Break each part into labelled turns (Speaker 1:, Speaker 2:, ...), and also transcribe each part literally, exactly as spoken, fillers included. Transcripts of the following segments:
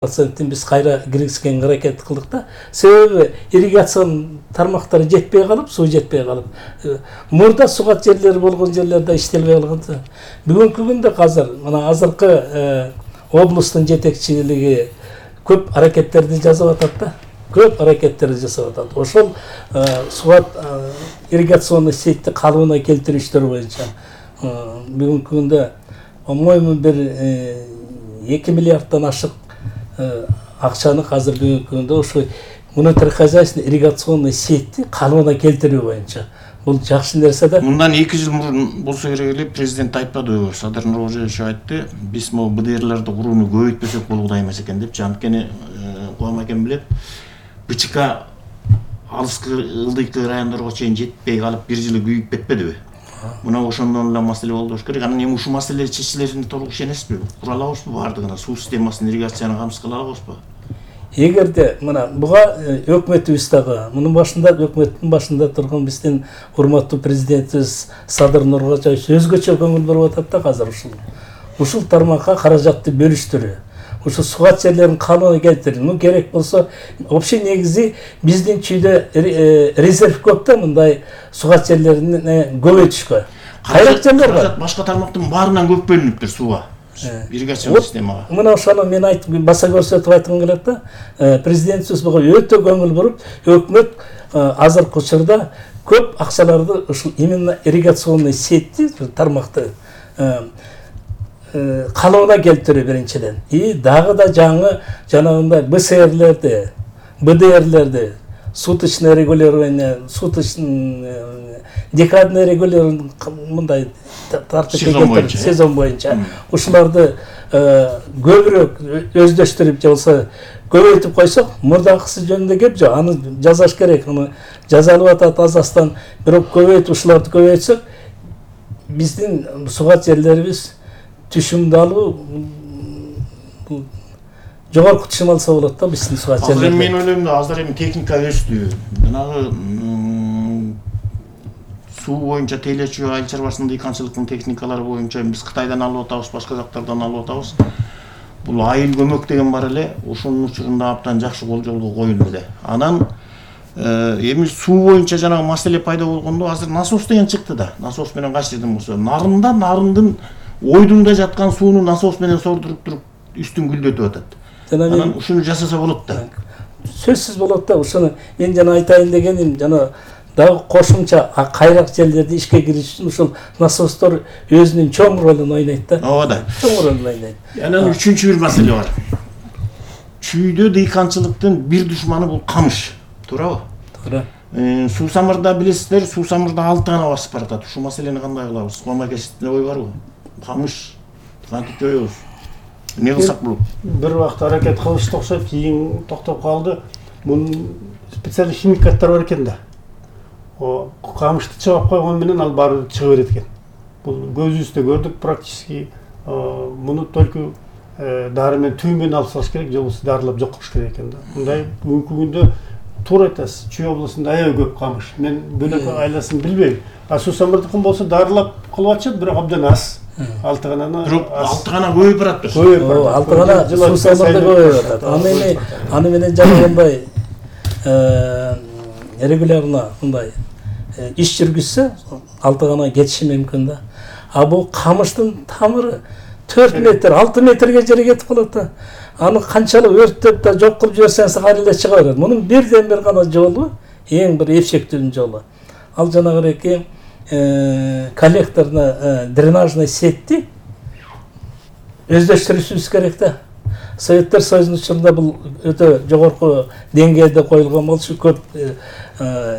Speaker 1: проценттен биз кайра киргизгенге аракет кылдык да. Себеби ирригацион тармактары жетпей калып, суу жетпей калып, мурда сугат жерлери болгон жерлерде иштелбей калган. Бүгүнкү күндө азыр мына азыркы облустун жетекчилиги көп аракеттерди жасап атат да. Көп аракеттерди жасап атат. Ошол сугат ирригационный сетти калыбына келтирүүчтөр боюнча бүгүнкү күндө по-моему бир эки миллиарддан ашык акчаны азыр бүгүнкү күндө ошо внутрихозяйственный ирригационный сетти калыбына келтирүү боюнча бул жакшы нерсе да.
Speaker 2: Мындан эки жыл мурун болсо керек эле, президент айтпадыбы, Садыр Нуркожоевич айтты, биз могу бэ дэ эрлерди курууну көбөйтпөсөк болгудай эмес экен депчи. Анткени Кубан экен билет, бэ че ка алыскы ылдыйкы райондорго чейин жетпей калып бир жылы күйүп кетпедиби? Мына ошондон эле маселе болду болуш керек. Анан эми ушул маселе чечилерине толук ишенесизби? Кура алабызбы бардыгына? Суу системасын, ирригацияны камсыз кыла алабызбы?
Speaker 1: Эгерде мына буга өкмөтүбүз дагы, мунун башында өкмөттүн башында турган биздин урматтуу президентибиз Садыр Нуркожоевич өзгөчө көңүл буруп атат да азыр ушул. Ушул тармакка каражатты бөлүштүрүү. Ушул сугат жерлерин калыбына келтирүү. Ну керек болсо, вообще негизи биздин чүйдө резерв көп да мындай сугат жерлерин көбөйтүшкө. Кайрак жерлер бар.
Speaker 2: Башка тармактын баарынан көп бөлүнүптүр сууга. Ирригацион системага.
Speaker 1: Мына ошону мен айтып баса көрсөтүп айткым келет да. Президентибиз буга өтө көңүл буруп, өкмөт азыркы учурда көп акчаларды ушул именно ирригационный сетти тармакты калыбына келтирүү биринчиден. И дагы да жаңы жанагындай бэ эс эрлерди, бэ дэ эрлерди, суточное регулирование, суточный декадный регулирование мындай тартипке сезон боюнча ушуларды көбүрөөк өздөштүрүп же болсо көбөйтүп койсок, мурдакысы жөнүндө кеп жок, аны жазаш керек, аны жазалып атат Азастан, бирок көбөйтүп ушуларды көбөйтсөк, биздин сугат жерлерибиз түшүмдү алуу жогорку түшүм алса болот да биздин сугат жерлерибиз.
Speaker 2: Азыр мен ойлойм да, азыр эми техника өстү. Жанагы суу боюнча тейлечүү, айыл чарбасында дыйканчылыктын техникалары боюнча биз Кытайдан алып атабыз, башка жактардан алып атабыз. Бул айыл көмөк деген бар эле, ошонун учурунда абдан жакшы болжолго коюлду эле. Анан эми суу боюнча жанагы маселе пайда болгондо азыр насос деген чыкты да. Насос менен кайсы жерден болсо, нарында нарындын ойдунда жаткан сууну насос менен сордуруп туруп үстүн гүлдөтүп атат. Анан ушуну жасаса болот да.
Speaker 1: Сөзсүз болот да. Ушуну мен жана айтайын дегеним, жана дагы кошумча кайрак жерлерди ишке кириш үчүн ушул насостор өзүнүн чоң ролун ойнойт да.
Speaker 2: Ооба да.
Speaker 1: Чоң ролун ойнойт.
Speaker 2: Анан үчүнчү бир маселе бар. Чүйдө дыйканчылыктын бир душманы бул камыш. Туурабы?
Speaker 1: Туура.
Speaker 2: Суусамырда билесиздер, суусамырда алты гана басып баратат. Ушул маселени кандай кылабыз? Кубан акесине ой барбы? Камыш кантип жоёбуз? Не кылсак болот?
Speaker 3: Бир убакта аракет кылышты окшойт, кийин токтоп калды. Мунун специалдуу химикаттар бар экен да. О, камышты чыгып койгон менен ал баары чыга берет экен. Бул көзүбүздө көрдүк практически. Муну только дары менен түйүн менен алып салыш керек, же болбосо дарылап жок кылыш керек экен да. Мындай бүгүнкү күндө туура айтасыз, Чүй областында аябай көп камыш. Мен бөлөк айласын билбейм. А суусамырдыкын болсо дарылап кылып атышат, бирок абдан аз. Алты гананы
Speaker 2: алты гана көбөйүп барат.
Speaker 1: Көбөйүп барат. Алты гана суусамырда көбөйүп атат. Аны эми аны менен жанагындай регулярно мындай иш жүргүзсө алты гана кетиши мүмкүн да. А бул камыштын тамыры төрт метр, алты метрге жери кетип калат да. Аны канчалык өрттөп да жок кылып жиберсеңиз ары эле чыга берет. Мунун бирден бир гана жолу, эң бир эпчектүү жолу. Ал жанагы коллекторный дренажный сетти өздөштүрүшүбүз керек да. Советтер Союзунун учурунда бул өтө жогорку деңгээлде коюлган болчу, көп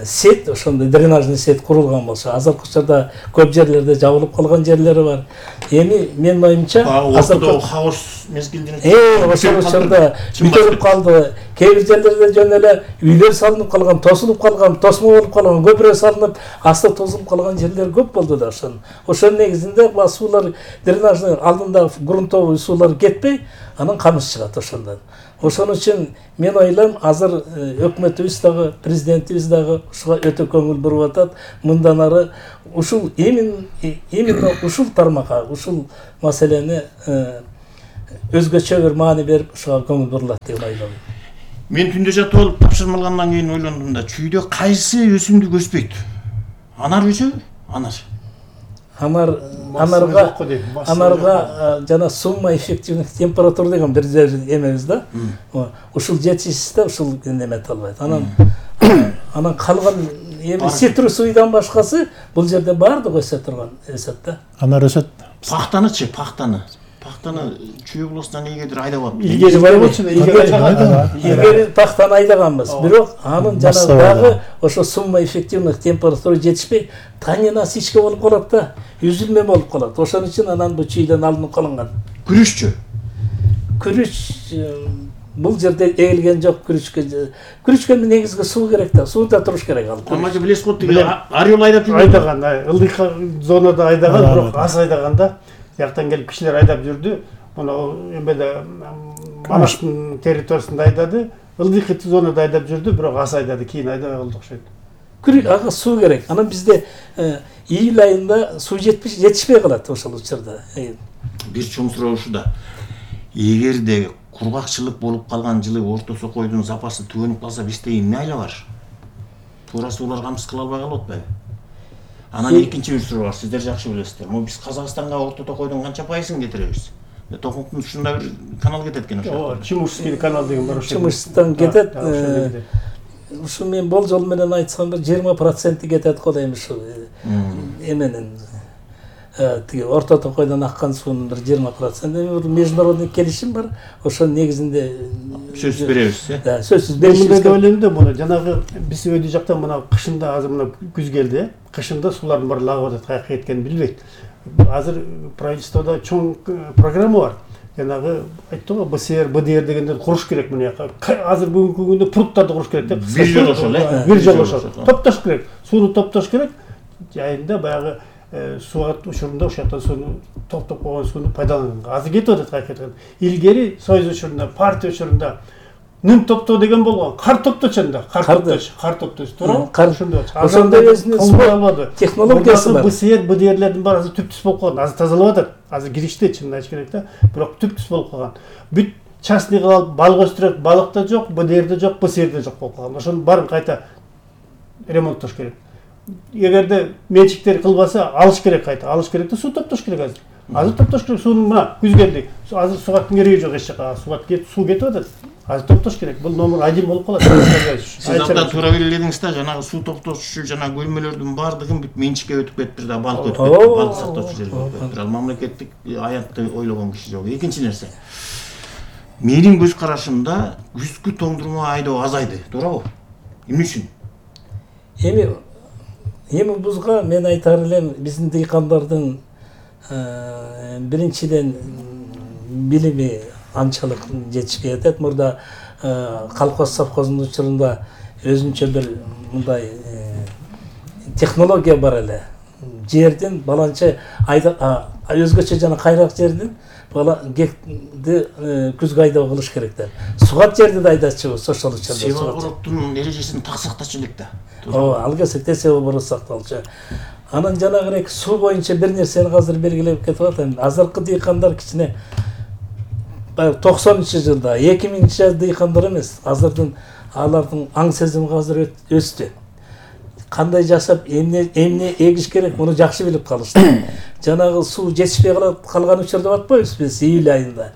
Speaker 1: сет, ошондой дренажный сет курулган болчу. Азыркы учурда көп жерлерде жабылып калган жерлери бар. Эми менин оюмча
Speaker 2: азыркы хаос мезгилинде
Speaker 1: э ошол учурда бүтөлүп калды. Кээ бир жерлерде жөн эле үйлөр салынып калган, тосулуп калган, тосмо болуп калган, көпүрө салынып, асты тосулуп калган жерлер көп болду да ошон. Ошонун негизинде суулар дренажный алдында грунтовый суулар кетпей, анан камыш чыгат ошондон. Ошон үчүн мен ойлойм, азыр өкмөтүбүз дагы, президентибиз дагы ушуга өтө көңүл буруп атат. Мындан ары ушул именно ушул тармакка, ушул маселени өзгөчө бир маани берип ошого көңүл бурулат деп ойлойм.
Speaker 2: Мен түндө жатып алып тапшырма алгандан кийин ойлондум да, чүйдө кайсы өсүмдүк өспөйт? Анар өсөбү? Анар.
Speaker 1: Анар анарга анарга жана сумма эффективных температура деген бир эмебиз да. Ушул жетишсизде ушул неме албайт. Анан анан калган эми цитрусуйдан башкасы бул жерде баардыгы өсө турган өсөт да.
Speaker 3: Анар өсөт.
Speaker 2: Пахтанычы, пахтаны. Пахтаны чүй облусунан ийгедир айдап алып.
Speaker 3: Илгери бар болчу да,
Speaker 1: илгери пахтаны айдаганбыз. Бирок анын жанагы дагы ошо сумма эффективных температура жетишпей, танинасичка болуп калат да, үзүлмө болуп калат. Ошон үчүн анан бу чүйдөн алынып калынган.
Speaker 2: Күрүччү.
Speaker 1: Күрүч бул жерде эгилген жок күрүчкө. Күрүчкө негизги суу керек да, сууда туруш керек ал.
Speaker 2: Амажы билесиз го, тиги Орел айдап жүрдү.
Speaker 3: Айдаган, ылдый зонада айдаган, бирок аз айдаганда жактан келип кишилер айдап жүрдү. Муну эмеде Манаштын территориясында айдады, ылдый зонада айдап жүрдү, бирок аз айдады, кийин айдабай калды окшойт.
Speaker 1: Күрүч ага суу керек. Анан бизде июль айында суу жетишпей калат ошол учурда.
Speaker 2: Бир чоң суроо ушуда. Эгерде кургакчылык болуп калган жылы Орто Сокойдун запасы түгөнүп калса, бизде эмне айла бар? Туура суулар камсыз кыла албай калып атпайбы? Анан экинчи бир суроо бар, сиздер жакшы билесиздер. Могу биз Казакстанга Орто Токойдун канча пайызын кетиребиз? Токумтун ушунда бир канал кетет экен ошо.
Speaker 3: Ооба, Чумушский канал деген бар ошо.
Speaker 1: Чумуштан кетет. Ушу мен болжол менен айтсам бир жыйырма проценти кетет го дейм ушу эменин. Тиги Орто Токойдон аккан суунун бир жыйырма проценти бир международный келишим бар. Ошонун негизинде
Speaker 2: сөзсүз беребиз, э?
Speaker 1: Да, сөзсүз беребиз.
Speaker 3: Мындай деп ойлойм да, муну жанагы биз өйдү жактан мына кышында азыр мына күз келди, кышында суулардын баары лагып атат, каяка кеткенин билбейт. Азыр правительстводо чоң программа бар. Жанагы айтты го, БСР, БДР дегендер куруш керек мына жака. Азыр бүгүнкү күндө пруттарды куруш керек деп.
Speaker 2: Бир жол ошол, э?
Speaker 3: Бир жол ошол. Топтош керек. Сууну топтош керек. Жайында баягы суат учурунда ошол жактан сууну топтоп койгон сууну пайдаланганга. Азыр кетип атат, каяка кеткен. Илгери Союз учурунда, партия учурунда нүн топтоо деген болгон, кар топточонда, кар топтош, кар топтош, туурабы?
Speaker 1: Ошондо ошондой өзүнүн технологиясы бар.
Speaker 3: БСР, БДРлердин баары азыр түп-түз болуп калган. Азыр тазалап атат. Азыр киришти, чынын айтыш керек да. Бирок түп-түз болуп калган. Бүт частный кылып балык өстүрөт, балык да жок, БДР да жок, БСР да жок болуп калган. Ошонун баарын кайта ремонттош керек. Эгерде менчиктер кылбаса, алыш керек кайта. Алыш керек да, суу топтош керек азыр. Азыр топтош керек, сууну мына күз келди. Азыр суугаттын кереги жок эч жака. Суугат кетип, суу кетип атат. Азыр топтош керек. Бул номер один болуп калат.
Speaker 2: Сиз абдан туура белгиледиңиз да, жанагы суу топтоочу жана бөлмөлөрдүн баардыгын бүт менчикке өтүп кетиптир да, балык өтүп кетиптир, балык сактоочу жерге өтүп кетиптир. Ал мамлекеттик аянтты ойлогон киши жок. Экинчи нерсе. Менин көз карашымда күзгү тоңдурма айдоо азайды, туурабы? Эмне үчүн?
Speaker 1: Эми эми бузга мен айтар элем, биздин дыйкандардын биринчиден билими анчалык жетишпей атат. Мурда колхоз совхоздун учурунда өзүнчө бир мындай технология бар эле. Жердин баланча айда өзгөчө жана кайрак жердин бала гекти күзгү айдоо кылыш керек деп. Сугат жерди да айдачыбыз ошол учурда.
Speaker 2: Себобороттун эрежесин так сактачу элек да.
Speaker 1: Ооба, алга секте себоборот сакталчу. Анан жанагы суу боюнча бир нерсени азыр белгилеп кетип атам. Азыркы дыйкандар кичине токсонунчу жылда, эки миңинчи жылы дыйкандар эмес, азырдын алардын аң сезими азыр өстү. Кандай жашап, эмне эмне эгиш керек, муну жакшы билип калышты. Жанагы суу жетишпей калган учурда деп атпайбыз биз июль айында.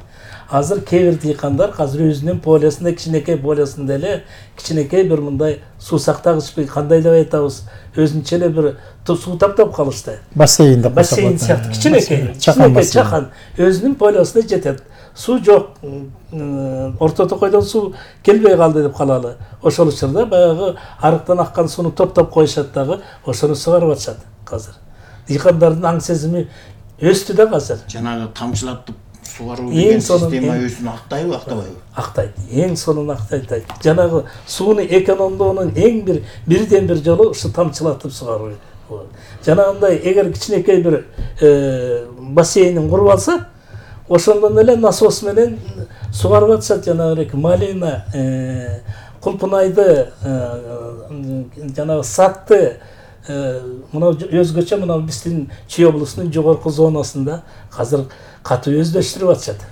Speaker 1: Азыр кээ бир дыйкандар азыр өзүнүн полесинде, кичинекей полесинде эле кичинекей бир мындай суу сактагычпы, кандай деп айтабыз, өзүнчө эле бир суу таптап калышты.
Speaker 3: Бассейн деп
Speaker 1: бассейн сыяктуу кичинекей, кичинекей чакан өзүнүн полесине жетет. Суу жок, Орто Токойдон суу келбей калды деп калалы. Ошол учурда баягы арыктан аккан сууну топтоп коюшат дагы, ошону сугарып атышат азыр. Дыйкандардын аң сезими өстү да азыр.
Speaker 2: Жанагы тамчылатып сугаруу деген система өзүн актайбы, актабайбы?
Speaker 1: Актайт. Эң сонун актайт. Жанагы сууну экономдоонун эң бир бирден бир жолу ушу тамчылатып сугаруу. Жанагындай эгер кичинекей бир бассейнин куруп алса, ошондон эле насос менен сугарып атышат. Жанагы Малина, Кулпунайды, жанагы Сатты, мына өзгөчө мына биздин Чүй облусунун жогорку зонасында азыр катуу өздөштүрүп атышат.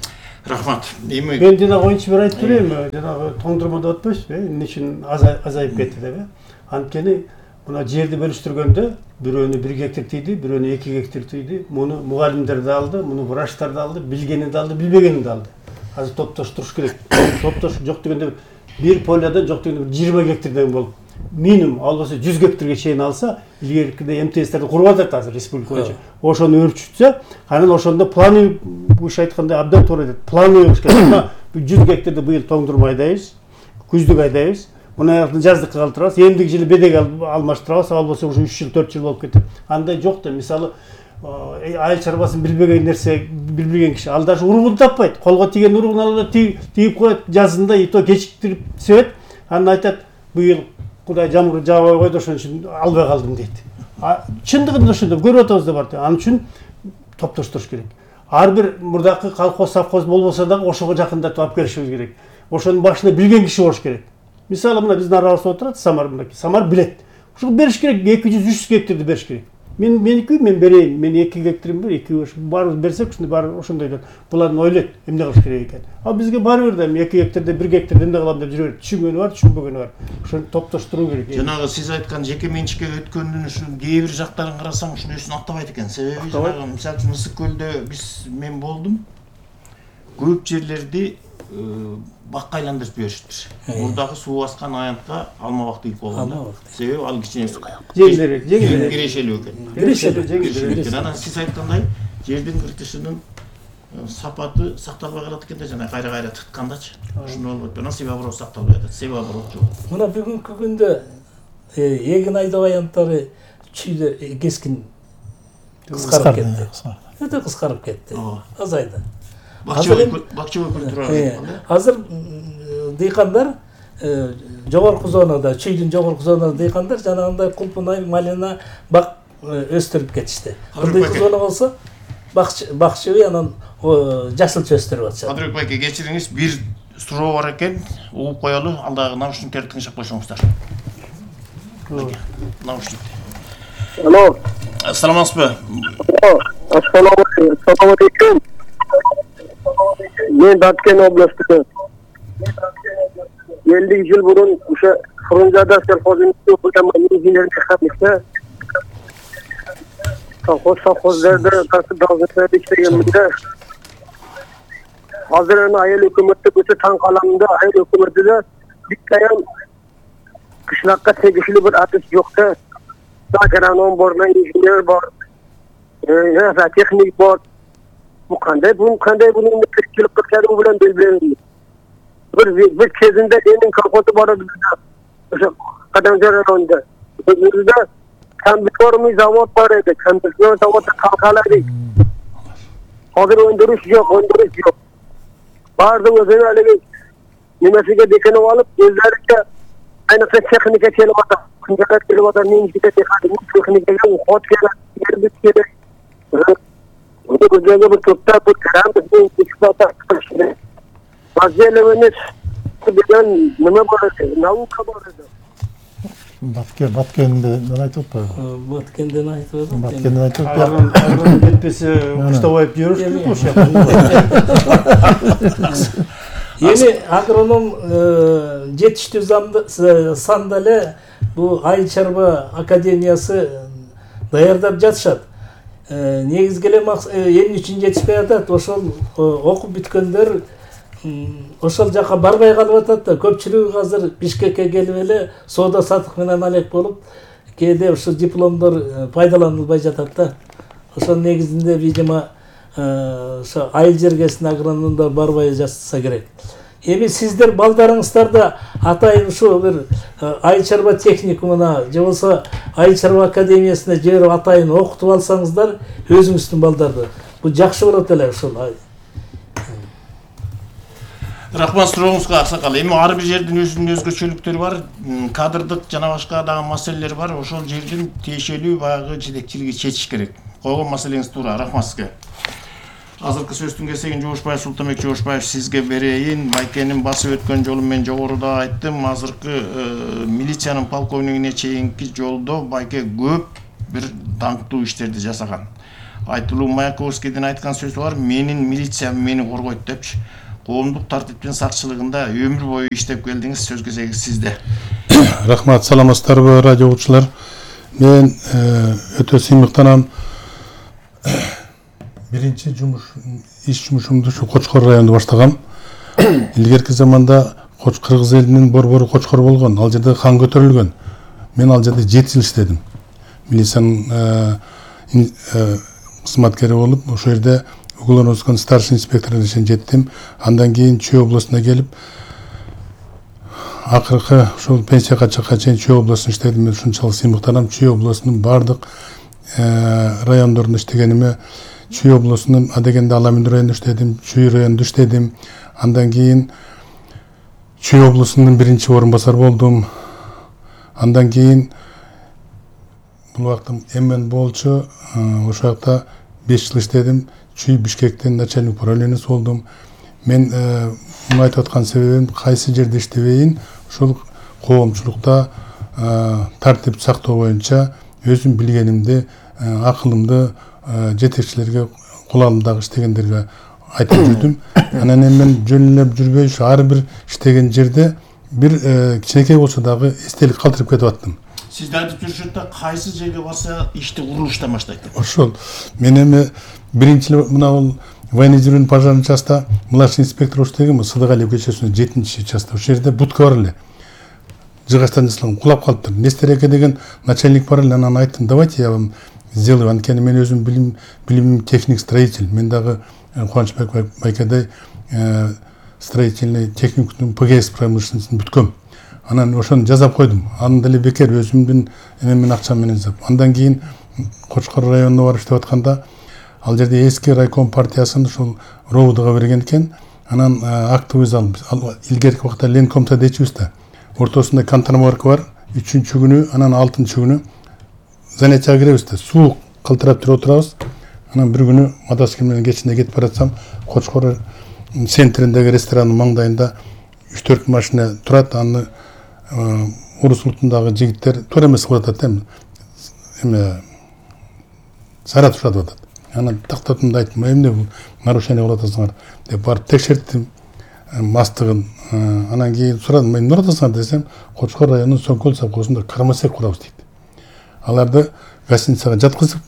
Speaker 2: Рахмат. Эми
Speaker 3: мен жана коюнчу бир айтып берейин, жанагы тоңдурмада атпайсызбы, эмне үчүн азайып кетти деп. Анткени мына жерди бөлүштүргөндө бирөөнү бир гектар тийди, бирөөнү эки гектар тийди. Муну мугалимдер да алды, муну врачтар да алды, билгени да алды, билбегени да алды. Азыр топтоштуруш керек. Топтош жок дегенде бир полядан жок дегенде жыйырма гектардан болуп, минимум ал болсо жүз гектарга чейин алса, илгеркиде эм тэ эстерди куруп атат азыр республика боюнча. Ошону өрчүтсө, анан ошондо планы буш айткандай абдан туура айтат. Планы болуш керек. жүз гектарды быйыл тоңдурма айдайбыз, күздүк айдайбыз. Муну жаздыкка калтырабыз, эмдиги жылы бедек алмаштырабыз, ал болсо ушу үч жыл, төрт жыл болуп кетет. Андай жок да, мисалы айыл чарбасын билбеген нерсе, билбеген киши ал даже уругун таппайт. Колго тийген уругун алып тийип коет, жазында и то кечиктирип себет. Анан айтат, быйыл Кудай жамгыр жаабай койду, ошон үчүн албай калдым дейт. Чындыгында ошондо көрүп атабыз да бар. Ал үчүн топтоштуруш керек. Ар бир мурдакы колхоз, совхоз болбосо дагы ошого жакындатып алып келишибиз керек. Ошонун башында билген киши болуш керек. Мисалы мына биздин арабызда отурат Самар мынакей. Самар билет. Ушуга бериш керек, эки жүз үч жүз гектарды бериш керек. Мен меники мен берейин, мен эки гектарым бар, эки баарыбыз берсек, ушундай баары ошондой булардын ойлойт, эмне кылыш керек экен. А бизге баары бир да эки гектарда бир гектарда эмне кылам деп жүрө берет. Түшүнгөнү бар, түшүнбөгөнү бар. Ошону топтоштуруу керек.
Speaker 2: Жанагы сиз айткан жеке менчикке өткөндүн ушул кээ бир жактарын карасаң ушунун өсүн аттабайт экен. Себеби жанагы мисалы үчүн Ысык көлдө биз мен болдум. Көп жерлерди бакка айландырып жиберишиптир. Мурдагы суу баскан аянтка алма бак дейт болгон. Себеби ал кичине
Speaker 3: жеңилирээк, жеңилирээк.
Speaker 2: Кирешелүү экен.
Speaker 3: Кирешелүү, жеңилирээк.
Speaker 2: Анан сиз айткандай жердин кыртышынын сапаты сакталбай калат экен да, жана кайра-кайра тыткандачы. Ушуну болбойт. Анан себеби аброо сакталбай атат. Себеби аброо жок.
Speaker 1: Мына бүгүнкү күндө эгин айдоо аянттары чүйдө кескин кыскарып кетти. Өтө кыскарып кетти. Азайды.
Speaker 2: Бакча культура.
Speaker 1: Азыр дыйкандар жогорку зонада, чүйдүн жогорку зонада дыйкандар жанагындай кулпунай, малина бак өстүрүп кетишти. Ындыйкы зона болсо бакчыбый анан жашылча өстүрүп атышат.
Speaker 2: Кадырбек байке, кечириңиз, бир суроо бар экен, угуп коелу, алдагы наушниктерди тыңшап койсоңуздар. Наушник.
Speaker 4: Алло.
Speaker 2: Саламатсызбы?
Speaker 4: Assalomu alaykum. Men Баткен областынан. elli yıl burun o'sha Xurunjada selxozini o'qigan injener mexanikda kolxoz совхозlarda tartib dozirlarda ishlaganimda hozir ana ayol hukumatda o'sha tan qalamida ayol hukumatida bitta ham qishloqqa tegishli bir atis yo'qda. Agronom bor, injener bor, e, texnik bor. Bu qanday, bu qanday buni tirikchilik qilgani bilan belgilanadi. Bir bir kezinde enin kolxozi bor edi bizda. O'sha Qadamjoy rayonida. Bizda kombiktormiy zavod bor edi. Kombiktor zavodda qalqaladik. Hozir o'ndirish yo'q, o'ndirish yo'q. Barda o'zini haligi nimasiga dekanib olib, o'zlariga ayniqsa texnika kelyapti. Kungalar kelyapti, menga texnika xod kerak, yerbit kerak. Bu ko'zlarga bir to'pta bu karam bizning eksploatatsiya qilish kerak. Vaziyatlarimiz degan nima bor edi? Nauka bor edi.
Speaker 5: Batken, Batken'de ne aytıp var?
Speaker 1: Batken'den aytıp var.
Speaker 5: Batken'den aytıp var.
Speaker 3: Agron yetpesi kuştavoyup yürüyüş mü?
Speaker 1: Yeni agronom жетиштүү санда эле бул Айыл чарба академиясы даярдап жатышат. Негизги эле эмне үчүн жетишпей атат? Ошол окуп бүткөндөр ошол жака барбай калып атат да. Көпчүлүгү азыр Бишкекке келип эле соода сатык менен алек болуп, кээде ушул дипломдор пайдаланылбай жатат да. Ошол негизинде видимо ошо айыл жергесине агрономдор барбай жатса керек. Эми сиздер балдарыңыздарда атайын ушу бир айыл чарба техникумуна же болбосо айыл чарба академиясына жиберип атайын окутуп алсаңыздар өзүңүздүн балдарды. Бул жакшы болот эле ушул.
Speaker 2: Рахмат сурооңузга аксакал. Эми ар бир жердин өзүнүн өзгөчөлүктөрү бар, кадрдык жана башка дагы маселелер бар. Ошол жердин тиешелүү баягы жетекчилиги чечиш керек. Койгон маселеңиз туура. Рахмат сизге. Азыркы сөздүн кезегин Жошбаев Султанбек Жошбаев сизге берейин. Байкенин басып өткөн жолун мен жогоруда айттым. Азыркы милициянын полковнигине чейинки жолдо Байке көп бир даңктуу иштерди жасаган. Айтылуу Маяковскийдин айткан сөзү бар, менин милициям мени коргойт депчи. Коомдук тартиптин сакчылыгында өмүр бою иштеп келдиңиз, сөз кезеги сизде.
Speaker 5: Рахмат, саламатсыздарбы радио угуучулар. Мен өтө сыймыктанам. Биринчи жумуш иш жумушумду ушу Кочкор районунда баштагам. Илгерки заманда Кыргыз элинин борбору Кочкор болгон, ал жерде хан көтөрүлгөн. Мен ал жерде жети жыл иштедим. Милициянын кызматкери болуп, ошол жерде Уголовный старший инспекторуна чейин жеттим. Андан кийин Чүй областына келип, акыркы ушул пенсияга чыкканга чейин Чүй областында иштедим. Мен ушунчалык сыймыктанам. Чүй областынын бардык райондорунда иштегениме, Чүй областынын адегенде Аламин районунда иштедим, Чүй районунда иштедим. Андан кийин Чүй областынын биринчи орун басар болдум. Андан кийин бул убакта эмен болчу, ошол жакта беш жыл иштедим. Чүй Бишкектин начальник управлениясы болдум. Мен муну айтып аткан себебим, кайсы жерде иштебейин, ушул коомчулукта тартип сактоо боюнча өзүм билгенимди, акылымды жетекчилерге, кулалымдагы иштегендерге айтып жүрдүм. Анан эми мен жөн эле жүрбөй, ушу ар бир иштеген жерде бир кичинекей болсо дагы эстелик калтырып кетип аттым.
Speaker 2: Сизди айтып жүрүшөт да, кайсы жерге барса ишти курулуштан баштайт деп.
Speaker 5: Ошол. Мен эми биринчи мына бул военизированный пожарный частта младший инспектор иштегем, Сыдыгалиев көчөсүнүн жетинчи частта. Ошол жерде будка бар эле. Жыгачтан жасалган, кулап калыптыр. Нестереке деген начальник бар эле, анан айттым, давайте я вам сделаю. Анткени мен өзүм билим билимим техник строитель. Мен дагы Кубанычбек Байкадай строительный техникумдун ПГС промышленностун бүткөм. Анан ошону жасап койдум. Аны деле бекер өзүмдүн эмемен акчам менен жасап. Андан кийин Кочкор районуна барып иштеп атканда, ал жерде эски райком партиясын ушул ровдуга берген экен. Анан актовый зал, илгерки убакта Ленкомта дейчүбүз да. Ортосунда контрамарка бар. Үчүнчү күнү, анан алтынчы күнү занятияга киребиз да. Суук калтырап туруп отурабыз. Анан бир күнү мотоцикл менен кечинде кетип баратсам, Кочкор центриндеги ресторанын маңдайында үч төрт машина турат. Аны Урус улутундагы жигиттер туура эмес кылып атат эми. Эме Саратов атат. Анан тактатым да айттым, эмне бул нарушение кылып атасыңар деп барып текшерттим мастыгын. Анан кийин сурадым, эмне кылып атасыңар десем, Кочкор районунун Соңкөл совхозунда кормосек курабыз дейт. Аларды гостиницага жаткызып,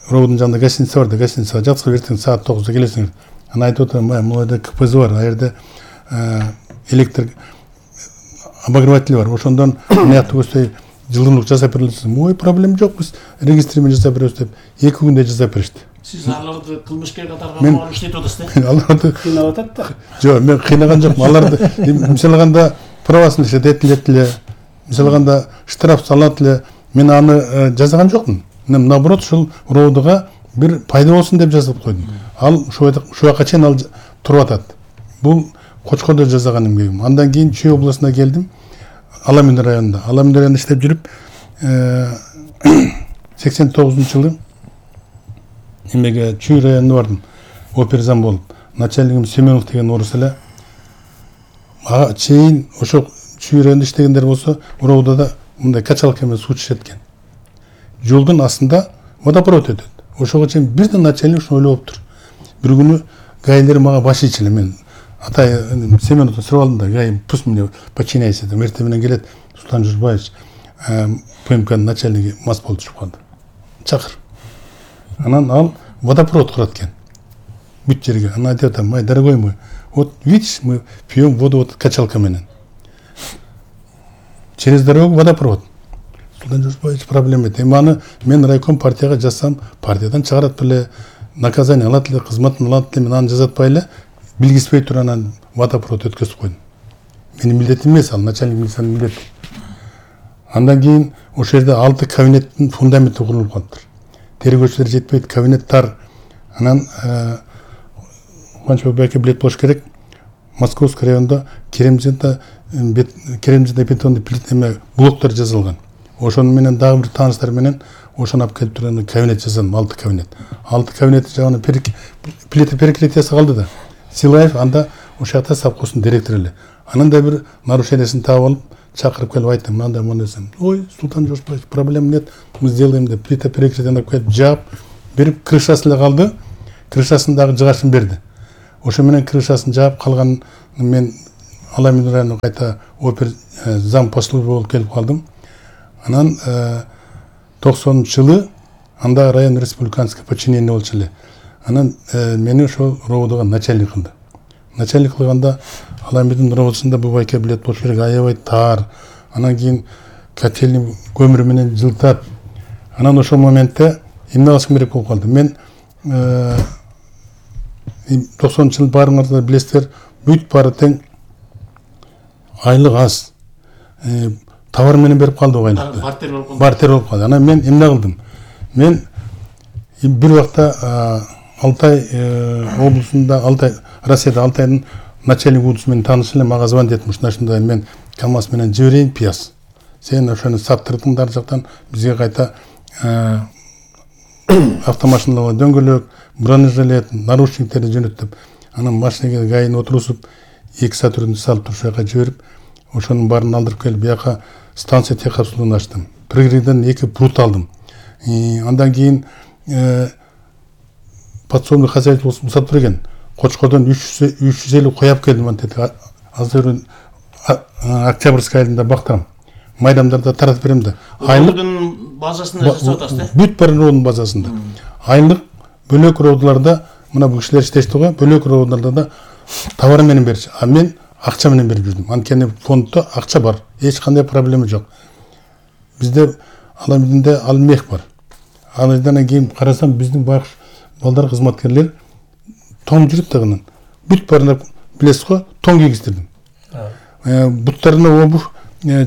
Speaker 5: ровдун жанында гостиница бар да, гостиницага жаткызып эртең саат тогузда келесиңер. Анан айтып атам, могу жерде КПЗ бар, ал жерде электр обогреватель бар. Ошондон мыякты көздөй жылымдык жасап берилсиз. Ой, проблема жок, биз регистрмен жасап беребиз деп эки күндө жасап беришти.
Speaker 2: Сиз аларды кылмышкер катарга алып иштетип атасыз да?
Speaker 5: Аларды
Speaker 3: кыйнап атат да.
Speaker 5: Жок, мен кыйнаган жокмун. Аларды мисалы алганда правасын иштетет эле, мисалы алганда штраф салат эле. Мен аны жасаган жокмун. Мен наоборот ушул ровдуга бир пайда болсун деп жасап койдум. Ал ушул жака чейин ал туруп атат. Бул Кочкордо жасаган эмгегим. Андан кийин Чүй областына келдим. Аламин районунда. Аламин районунда иштеп жүрүп, сексен тогузунчу жылы эмеге Чүй районуна бардым. Оперзам болуп. Начальнигим Семенов деген орус эле. Ага чейин ошо Чүй районунда иштегендер болсо, ровдо да мындай качалка менен суу чечет экен. Жолдун астында водопровод өтөт. Ошого чейин бирден начальник ушуну ойлоптур. Бир күнү гайлер мага баш ичиле, мен атай Семеновду сурап алдым да, гай пусть мне подчиняйся деп, эртең менен келет Султан Журбаевич, ПМКнын начальниги мас болуп чыгып калды. Чакыр. Анан ал водопровод курат экен. Бүт жерге. Анан айтып атам, мой дорогой мой, вот видишь, мы пьем воду вот качалка менен. Через дорогу водопровод. Султан Журбаевич проблема эт. Эми аны мен райком партияга жазсам, партиядан чыгарат беле, наказание алат эле, кызматын алат эле, мен аны жазатпай эле, билгизбей туруп анан водопровод өткөзүп койдум. Менин милдетим эмес, ал начальник милициянын милдети. Андан кийин ошол жерде алты кабинеттин фундаменти курулуп калыптыр. Тергөөчүлөр жетпейт, кабинет тар. Анан Кубанычбек Байке билет болуш керек. Московский районунда Керемжинде Керемжинде бетонный плитеме блоктор жасалган. Ошону менен дагы бир тааныштар менен ошону алып келип турган кабинет жасадым, алты кабинет. алты кабинет жагына плита перекрытиясы калды да. Силаев анда ошол жакта совхоздун директору эле. Анан да бир нарушениясын таап алып, чакырып келип айттым, мындай мындай десем. Ой, Султан Жоржбаевич, проблем нет, мы сделаем деп плита перекрытияны коюп, жаап, берип крышасы эле калды. Крышасындагы жыгашын берди. Ошо менен крышасын жаап калган мен Аламин районуна кайта опер зам по службе болуп келип калдым. Анан токсонунчу жылы анда район республиканский подчинение болчу эле. Анан мени ошол ровдого начальник кылды. Начальник кылганда Аламиндин ровдосунда бу байке билет болуш керек, аябай тар. Анан кийин котельный көмүр менен жылтат. Анан ошол моментте эмне кылышым керек болуп калды. Мен токсонунчу жылы баарыңар билесиздер, бүт баары тең айлык аз. Товар менен берип калды айлыкты.
Speaker 2: Бартер болуп калды.
Speaker 5: Бартер болуп калды. Анан мен эмне кылдым? Мен бир убакта Алтай облусунда, Алтай Россияда Алтайдын начальник удусу менен тааныш эле, мага звонить этти, ушундай мен КамАЗ менен жиберейин пияз. Сен ошону саптырдыңдар жактан бизге кайта автомашиналарга дөңгөлөк, бронежилет, наручниктерди жөнөттүп, анан машинеге гайын отурусуп, эки сатүрүндү салып туруп ошол жака жиберип, ошонун баарын алдырып келип, бияка станция техкапсулун ачтым. Пригороддон эки прут алдым. Андан кийин подсобный хозяйство усап тур экен. Кочкордон үч жүз элүү кой алып келдим, антет азыр Октябрьский айылында бактырам. Майдамдарда таратып берем да.
Speaker 2: Айлык базасында жасап атасыз да?
Speaker 5: Бүт бир ровдун базасында. Айлык бөлөк ровдуларда мына бу кишилер иштешти го, бөлөк ровдуларда да товар менен берчү. А мен акча менен берип жүрдүм. Анткени фонддо акча бар, эч кандай проблема жок. Бизде Аламиндинде алмех бар. Андан кийин карасам, биздин байкуш балдар кызматкерлер тоң жүрүп тагынан. Бүт баарына билесиз го, тоң кийгиздирдим. Буттарына обув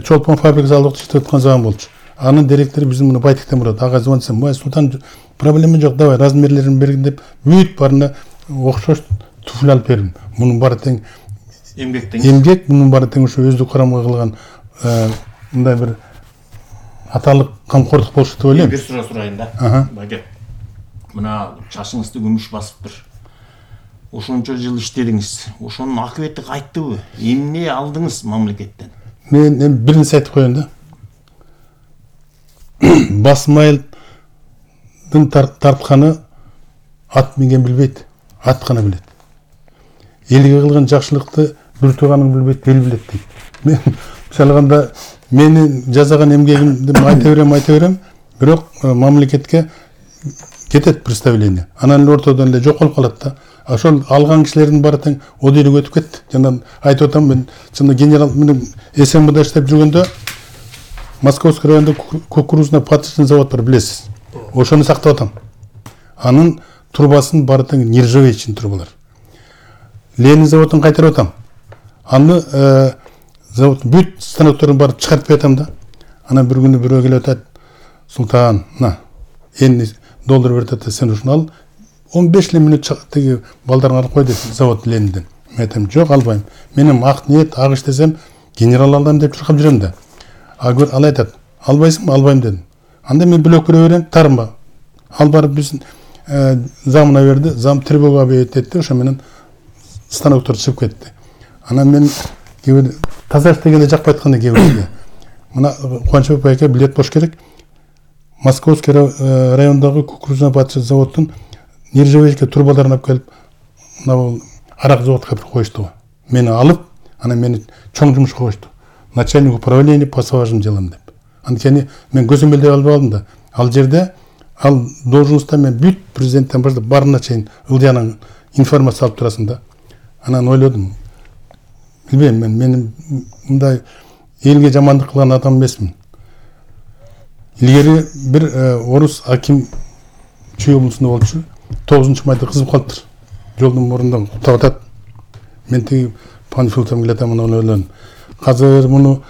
Speaker 5: чолпон фабрикасы алып иштеп аткан заман болчу. Анын директору биздин муну Байтиктен бурат. Ага звонсам, "Май Султан, проблема жок, давай размерлерин бергин" деп, бүт баарына окшош туфли алып бердим. Мунун баары тең
Speaker 2: эмгектен.
Speaker 5: Эмгек, мунун баары тең ошо өздүк карамга кылган мындай бир аталык камкордук болушу деп ойлойм.
Speaker 2: Бир суроо сурайын да. Байке. Мына чачыңызды күмүш басыптыр. Ошончо жыл иштедиңиз. Ошонун акыбети кайттыбы? Эмне алдыңыз мамлекеттен?
Speaker 5: Мен эми бир нерсе айтып коеюн да. Басмайылдын тартканы ат минген билбейт, ат гана билет. Элге кылган жакшылыкты бир тууганың билбейт, эл билет дейт. Мен мисалганда мени жасаган эмгегимди айта берем, айта берем, бирок мамлекетке кетет представление. Анан эле ортодон эле жоколуп калат да. Ошол алган кишилердин баары тең одейлик өтүп кетти. Жана айтып атам, мен чында генерал менен СМБда иштеп жүргөндө Московский районунда кукурузный паточный завод бар, билесиз. Ошону сактап атам. Анын трубасын баары тең нержавеечный трубалар. Ленин заводун кайтарып атам. Аны завод бүт станокторун баарын чыгарып берем да. Анан бир күнү бирөө келип атат, "Султан, на, энди доллар берип атат, сен ушуну ал. он беш эле мүнөт тиги балдарыңа алып кой" деп завод Ленинден. Мен айтам, "Жок, албайм. Менин ак ниет, ак иш десем, генерал алдым деп чуркап жүрөм да." А гөр ал айтат, "Албайсыңбы?" "Албайм" дедим. Анда мен бөлөк бере берем, тарынба. Ал барып биздин замына берди, зам тревога объявить этти, ошо менен станоктор чыгып кетти. Анан мен кээ таза иштегенде жакпай атканда кээ мына Кубанычбек байке билет болуш керек. Московский райондогу кукурузный паточный заводдун нержавеечка трубаларын алып келип, мына арак заводко алып коюшту. Мени алып, анан мени чоң жумушка коюшту. Начальник управления по сважным делам деп. Анткени мен көзөмөлдөй албай калдым да. Ал жерде ал должността мен бүт президенттен баштап барына чейин ылдыянын информация алып турасың да. Анан ойлодум. Билбейм, мен менин мындай элге жамандык кылган адам эмесмин. Илгери бир орус аким Чүй облусунда болчу. тогузунчу майда кызып калыптыр. Жолдун мурундан куттап атат. Мен тиги панфилтом келатам, аны ойлодум. Азыр муну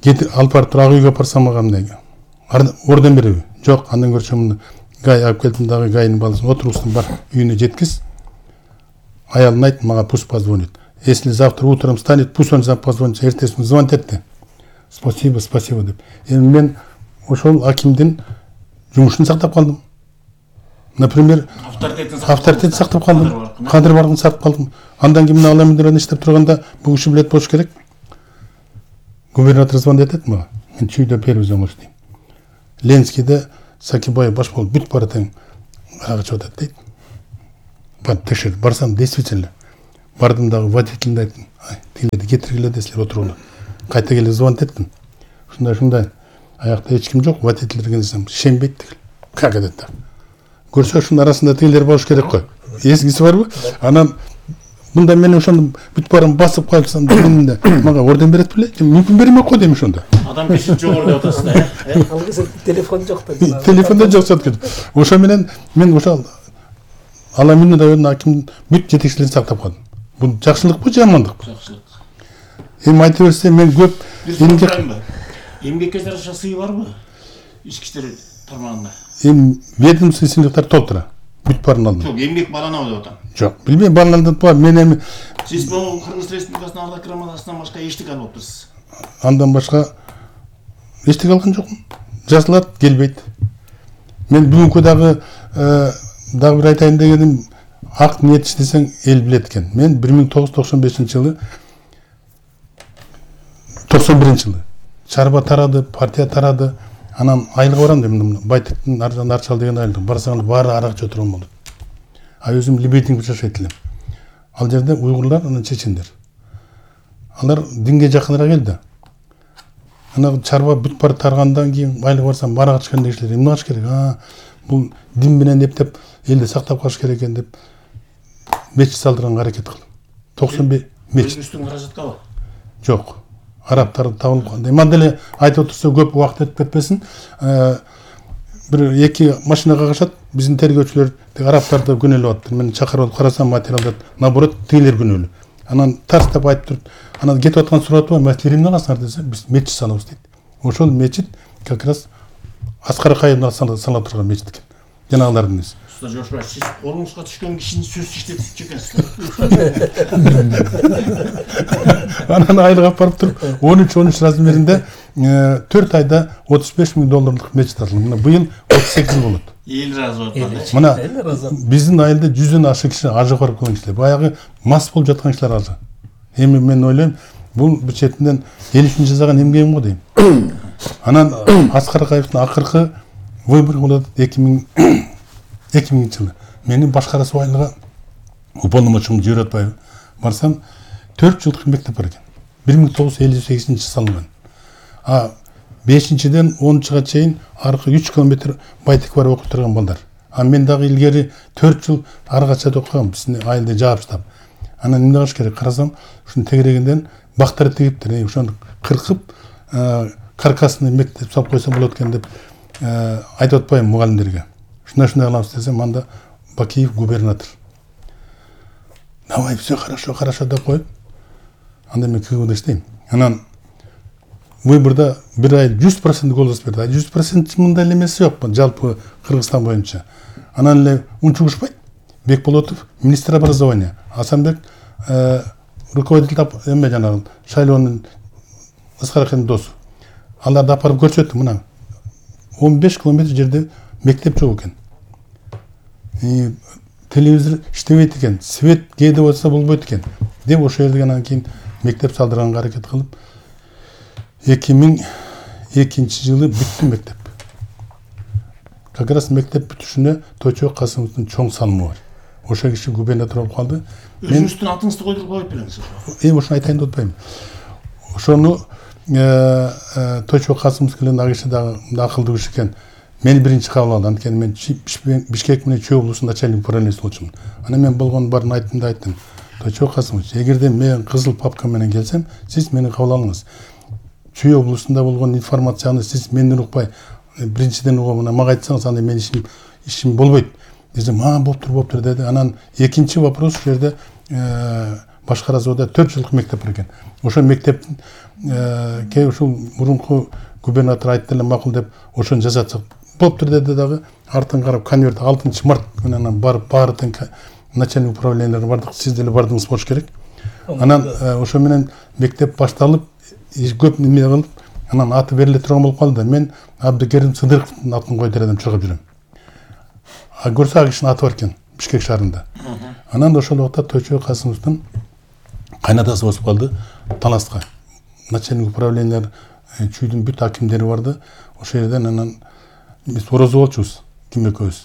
Speaker 5: кетип алып барып ак үйгө апарсам мындай. Орден береби? Жок, андан көрсөм муну гай алып келдим дагы гайдын баласын отурустун бар үйүнө жеткиз. Аялына айт, мага пусть позвонит. Если завтра утром станет, пусть он позвонит. Эртесин звонит этти. Спасибо, спасибо деп. Эми мен ошол акимдин жумушун сактап калдым. Например, авторитетин сактап калдым. Кадыр бардыгын сактап калдым. Андан кийин Аламин иштеп турганда бул киши билет болуш керек. Губернатор звонит этет мага. Мен чүйдө первый зоңош дейм. Ленскийде Сакибаев баш болуп бүт баратың ага чыгып атат дейт. Бар текшер, барсам действительно. Бардым дагы водителине айттым. Ай, тигилерди кетиргиле десилер отуруңдар. Кайта келип звонить эттим. Ушундай ушундай. Аякта эч ким жок, водитель деген десем, шенбейт тигил. Как это? Көрсө ушунун арасында тигилер болуш керек кой. Эсиңиз барбы? Анан мында мен ошону бүт барын басып калсам, менде мага орден берет беле? Мүмкүн берме го дейм ошондо.
Speaker 2: Адам киши жогору деп атасыз да, э?
Speaker 1: Алгысы телефон жок да.
Speaker 5: Телефонда жок жаткан. Ошо менен мен ошо Аламин районунун аким бүт жетекчилерин сактап калдым. Бул жакшылыкпы, жамандыкпы?
Speaker 2: Жакшылык.
Speaker 5: Эми айта берсем мен көп
Speaker 2: эмгек эмгекке жараша сый барбы? Ички иштер тармагында.
Speaker 5: Эми ведомство сыйлыктар толтура. Бүт барын алдым.
Speaker 2: Жок, эмгек баланабы деп атам.
Speaker 5: Жок, билбейм, баланып бар. Мен эми
Speaker 2: Сиз бул Кыргыз Республикасынын ардак громадасынан башка эчтеке албаптырсыз.
Speaker 5: андан башка эчтеке алган жокмун. Жазылат, келбейт. Мен бүгүнкү дагы дагы бир айтайын дегеним, ак ниет иштесең эл билет экен. Мен бир миң тогуз жүз токсон бешинчи жылы токсон биринчи жылы чарба тарады, партия тарады. Анан айлык барам дедим. Байтыктын аржан арчал деген айлык. Барсаң баары аракчы отурган болот. А өзүм Лебединге жашайт элем. Ал жерде уйгурлар, анан чечендер. Алар динге жакыныраак келди. Ана чарба бүт бар таргандан кийин айлык барсам барак чыккан кишилер эмне кылыш керек? А, бул дин менен эптеп элди сактап калыш керек экен деп мечит салдырганга аракет кылдым. токсон беш мечит.
Speaker 2: Өзүбүздүн каражаткабы?
Speaker 5: Жок. Арабтар табылып калды. Эми деле айтып отурса көп убакыт өтүп кетпесин. Бир эки машинага кагышат. Биздин тергөөчүлөр арабтарды күнөөлөп атты. Мен чакырып алып карасам материалдар наоборот тигилер күнөөлүү. Анан тарстап айтып туруп, анан кетип аткан сураты бар. Маселе эмне кыласыңар десе, биз мечит салабыз дейт. Ошол мечит как раз Аскар Акаевдин сала турган мечит экен. Жанагылардын эси.
Speaker 2: Уста Жошбай, сиз колуңузга түшкөн кишини сөз иштетип экенсиз.
Speaker 5: Анан айлык алып барып туруп, он үч он үч размеринде төрт айда отуз беш миң долларлык мечит алдым. Мына быйыл отуз сегиз болот.
Speaker 2: Эл разы болуп атат.
Speaker 5: Мына биздин айылда жүздөн ашык киши ажы барып калган кишилер. Баягы мас болуп жаткан кишилер азы. Эми мен ойлойм, бул бир четинен эл үчүн жасаган эмгегим го дейм. Анан Аскар Акаевдин акыркы выбор болот эки миңинчи жылы. Мени башкарасы айлыга уполномоченный Жүйрөт Атбаев барсам төрт жылдык мектеп бар экен. бир миң тогуз жүз элүү сегизинчи салынган. А бешинчиден онунчуга чейин аркы үч километр Байтек барып окуп турган балдар. А мен дагы илгери төрт жыл аргача окугам, биздин айылда жаап. Анан эмне кылыш керек? Карасам, ушунун тегерегинден бактар тигиптир. Ошону кыркып, каркасыны мектеп салып койсо болот экен деп айтып атпайм мугалимдерге. Шундай шундай кыламыз десем, анда Бакиев губернатор. Давай, все хорошо, хорошо деп коюп. Анда мен кыгыбында иштейм. Анан выборда бир ай жүз процент голос берди. А жүз процент мындай эмеси жок, жалпы Кыргызстан боюнча. Анан эле унчугушпайт. Бекболотов министр образования, Асанбек руководитель эме жанагы шайлоонун Аскар Акаевдин досу. Аларды алып барып көрсөттү, мына он беш километр жерде мектеп жок экен. И телевизор иштебейт экен, свет кээде болсо болбойт экен деп ошол жерде анан кийин мектеп салдырганга аракет кылып эки миң экинчи жылы бүттү мектеп. Как раз мектеп бүтүшүнө Тойчо Касымовдун чоң салымы бар. Ошол киши губернатор болуп калды.
Speaker 2: Өзүңүздүн атыңызды койдуруп коюп бериңиз.
Speaker 5: Эми ошону айтайын деп атпайм. Ошону Тойчо Касымов келген ал киши дагы акылдуу киши экен. Мени биринчи кабыл алды. Анткени мен Бишкек менен Чүй облусунун начальник управлениясында болчумун. Анан мен болгон баарын айттым да айттым. Тойчо Касымович, эгерде мен кызыл папка менен келсем, сиз мени кабыл алыңыз. Чүй облусунда болгон информацияны сиз менден укпай, биринчиден угуп, мага айтсаңыз, анда мен ишим ишим болбойт. Десем, а, болуптур, болуптур деди. Анан экинчи вопрос ушул жерде Башкара Зоода төрт жылдык мектеп бар экен. Ошол мектептин кээ ушул мурунку губернатор айтты эле макул деп ошону жасатсак болуптур деди дагы. Артын карап конверт алтынчы март күнү анан барып баары тең начальник управлениялар бардык, сиз деле бардыңыз болуш керек. Анан ошо менен мектеп башталып, көп неме кылып, анан аты бериле турган болуп калды. Мен Абдыкерим Сыдыровдун атын койдур элем, чыгып жүрөм. А көрсө ал кишинин аты бар экен Бишкек шаарында. Анан ошол убакта Тойчо Касымовдун кайнатасы болуп калды Таласка. Начальник управлениялар Чүйдүн бүт акимдери барды. Ошол жерден анан биз орозо болчубуз ким экөөбүз,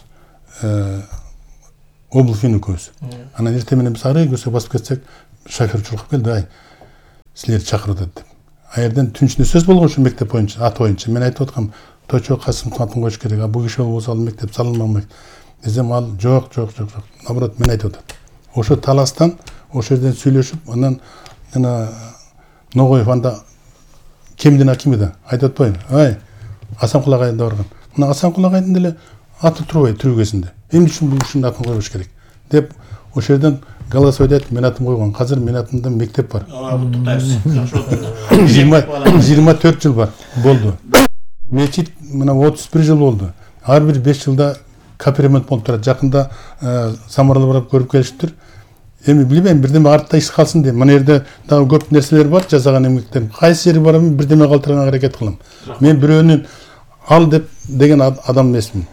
Speaker 5: Облфин экөөбүз. Анан эртең менен биз ары көсө басып кетсек, шофер чуркап келди, ай силерди чакырып атат деп. А жерден түн ичинде сөз болгон ушу мектеп боюнча, ат боюнча. Мен айтып аткам, Тойчо Касымовдун атын коюш керек, а бул киши болбосо ал мектеп салынбайт десем, ал жок, жок, жок, жок. Наоборот, мен айтып атат. Ошо таластан, ошол жерден сүйлөшүп, анан жана Ногоев анда кемдин акими да айтып атпайбы? Ай, Асанкул агайда барган. Мына Асанкул агайдын деле аты турбайт түрүгөсүндө. Эмне үчүн бул кишинин атын коюш керек деп ошол жерден голосовать айтып мен атым койгон. Азыр мен атымда мектеп бар. жыйырма төрт жыл бар болду. Мечит мына отуз бир жыл болду. Ар бир беш жылда капремонт болуп турат. Жакында Самаралы барып көрүп келиштир. Эми билбейм, бирдеме артта иш калсын деп. Мына жерде дагы көп нерселер бар, жасаган эмгектерим. Кайсы жери барам, бирдеме калтырганга аракет кылам. Мен бирөөнүн ал деп деген адам эмесмин.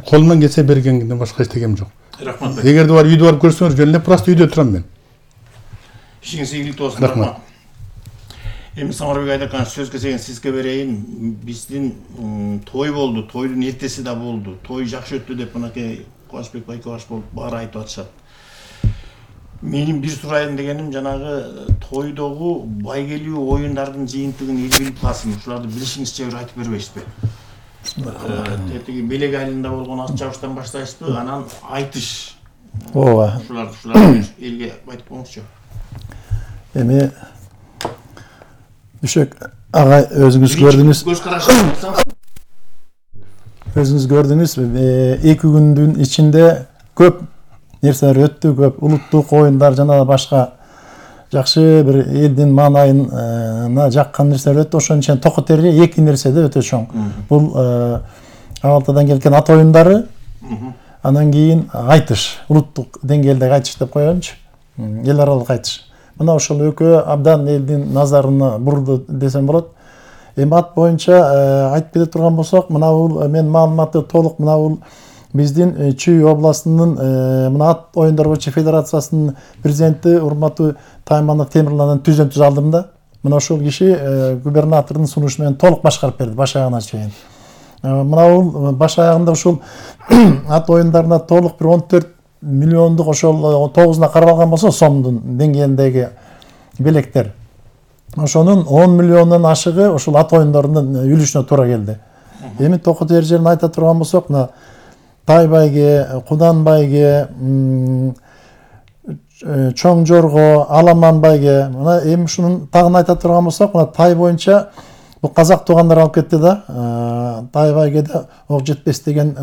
Speaker 5: Колумдан келсе бергенден башка эчтегем жок.
Speaker 2: Рахмат.
Speaker 5: Эгерде бар үйдө барып көрсөңөр, жөн эле просто үйдө турам мен.
Speaker 2: Ишиңиз ийгиликтүү болсун. Рахмат. Эми Самарбек Айдарканович, сөз кезегин сизге берейин. Биздин той болду, тойдун эртеси да болду. Той жакшы өттү деп мынакей Кубанычбек Байкебаш болуп баары айтып атышат. Менин бир сурайын дегеним, жанагы тойдогу байгелүү оюндардын жыйынтыгын эл билип калсын. Ушуларды билишиңизче бир айтып бербейсизби? Тетиги белек айылында болгон ат жабыштан баштайсызбы, анан айтыш.
Speaker 6: Ооба.
Speaker 2: Ушуларды ушуларды элге айтып коюңузчу.
Speaker 6: Эми Үшөк агай, өзүңүз көрдүңүз.
Speaker 2: Көз карашыңыз.
Speaker 6: Өзүңүз көрдүңүз, эки күндүн ичинде көп нерселер өттү, көп улуттук оюндар жана башка жакшы бир элдин маанайына жаккан нерселер өттү. Ошонун ичинен токо терге эки нерсе да өтө чоң. Бул Абалтадан келген ат оюндары, анан кийин айтыш, улуттук деңгээлдеги айтыш деп коелучу. Эл аралык айтыш. Мына ошол экөө абдан элдин назарына бурду десем болот. Эми ат боюнча айтып кете турган болсок, мына бул мен маалыматты толук мына бул биздин Чүй областынын мына ат оюндар боюнча федерациясынын президенти урматтуу Тайманов Темирландан түзөмтүз алдым да. Мына ошол киши губернатордун сунушу менен толук башкарып берди баш аягына чейин. Мына бул баш аягында ушул ат оюндарына толук бир он төрт миллиондук ошол тогузуна каралган болсо сомдун деңгээлиндеги белектер. Ошонун он миллиондон ашыгы ошол ат оюндарынын үлүшүнө туура келди. Эми токо тер жерин айта турган болсок, мына Тай байге, Кудан байге, Чоң жорго, Аламан байге, мына эми ушунун тагын айта турган болсок, мына Тай боюнча бул казак туугандар алып кетти да. Тай байге да ок жетпес деген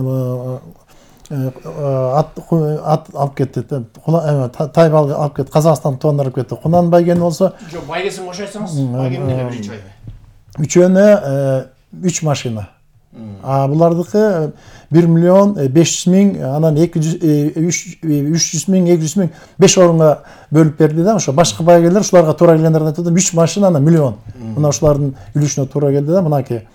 Speaker 6: ат ат алып кетти. Тай байге алып кетти, Казакстан туугандар алып кетти. Кунан байгени болсо,
Speaker 2: жок, байгесин кош айтсаңыз, байгени деле биринчи байге.
Speaker 6: Үчөөнө үч машина. А булардыкы бир миллион беш жүз миң, анан эки жүз үч жүз миң, эки жүз миң беш орунга бөлүп берди да. Ошо башка байгелер ушуларга туура келгендерин айтып атам. үч машина анан миллион. Мына ушулардын үлүшүнө туура келди да, мынакей.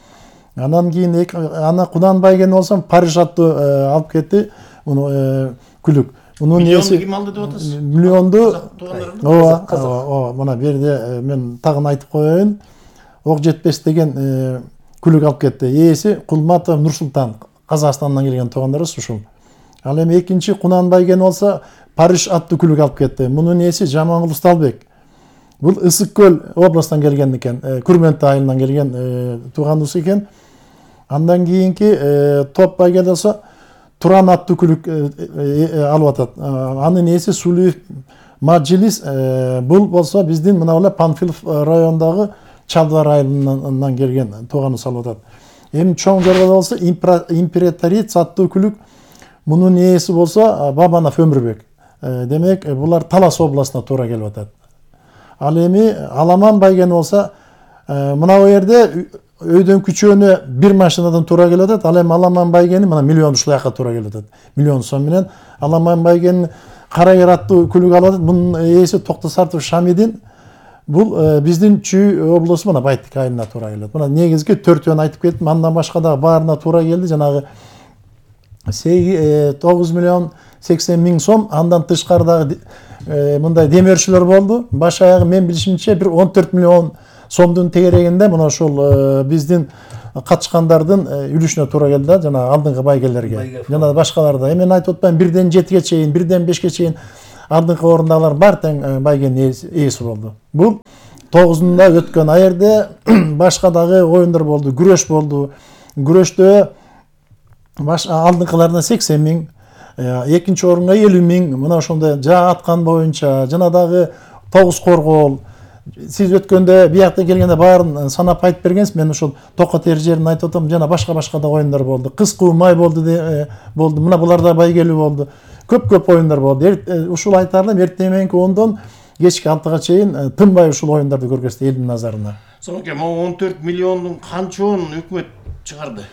Speaker 6: Анан кийин ана Кудан байгени болсо Париж аттуу алып кетти. Муну күлүк. Мунун
Speaker 2: эси ким алды деп атасыз?
Speaker 6: Миллионду. Ооба, ооба, мына бу жерде мен тагын айтып коеюн. Ок жетпес деген күлүк алып кетти. Ээси Кулматов Нурсултан, Казакстандан келген туугандарыбыз ушул. Ал эми экинчи Кунан байгени болсо Париж аттуу күлүк алып кетти. Мунун ээси Жамангул Усталбек. Бул Ысык көл областан келген экен, Күрмөнтө айылынан келген тууганыбыз экен. Андан кийинки Топ байге болсо Туран аттуу күлүк алып атат. Анын ээси Сулуев Мажилис. Бул болсо биздин мына эле Панфилов районундагы Чалдылар айылынан келген тууганыбыз алып атат. Эми Чоң жорго болсо Императрица аттуу күлүк. Мунун ээси болсо Бабанов Өмүрбек. Демек, булар Талас областына туура келип атат. Ал эми Аламан байгени болсо мына бу жерде өйдөн күчөөнө бир машинадан туура келип атат. Ал эми Аламан байгени мына миллион ушул жака туура келип атат. Миллион сом менен Аламан байгени Карайыр аттуу күлүк алып атат. Мунун ээси Токтосартов Шамидин. Бул биздин Чүй облусу мына Байтик айылына туура келет. Мына негизги төртөөнү айтып кеттим. Андан башка да баарына туура келди. Жанагы тогуз миллион сексен миң сом. Андан тышкары дагы мындай демөөрчүлөр болду. Баш аягы мен билишимче бир он төрт миллион сомдун тегерегинде мына ушул биздин катышкандардын үлүшүнө туура келди да, жана алдыңкы байгелерге жана башкаларда. Эми мен айтып атпайм бирден жетиге чейин, бирден бешке чейин алдыңкы орындагылар бар тең байгенин ээси болду. Бул тогузунда өткөн. А жерде башка дагы оюндар болду, күрөш болду. Күрөштө баш алдыңкыларына сексен миң, экинчи орунга элүү миң, мына ошондой жаа аткан боюнча жана дагы тогуз коргоол. Сиз өткөндө биякта келгенде баарын санап айтып бергенсиз. Мен ошол токо тери жерин айтып атам, жана башка-башка да оюндар болду. Кыз куу май болду болду. Мына булар да байгелүү болду. Көп-көп оюндар болду. Ушул айтарлым эртең мененки ондон кечки алтыга чейин тынбай ушул оюндарды көргөздү элдин назарына.
Speaker 2: Соңке могу он төрт миллиондун канчоон өкмөт чыгарды?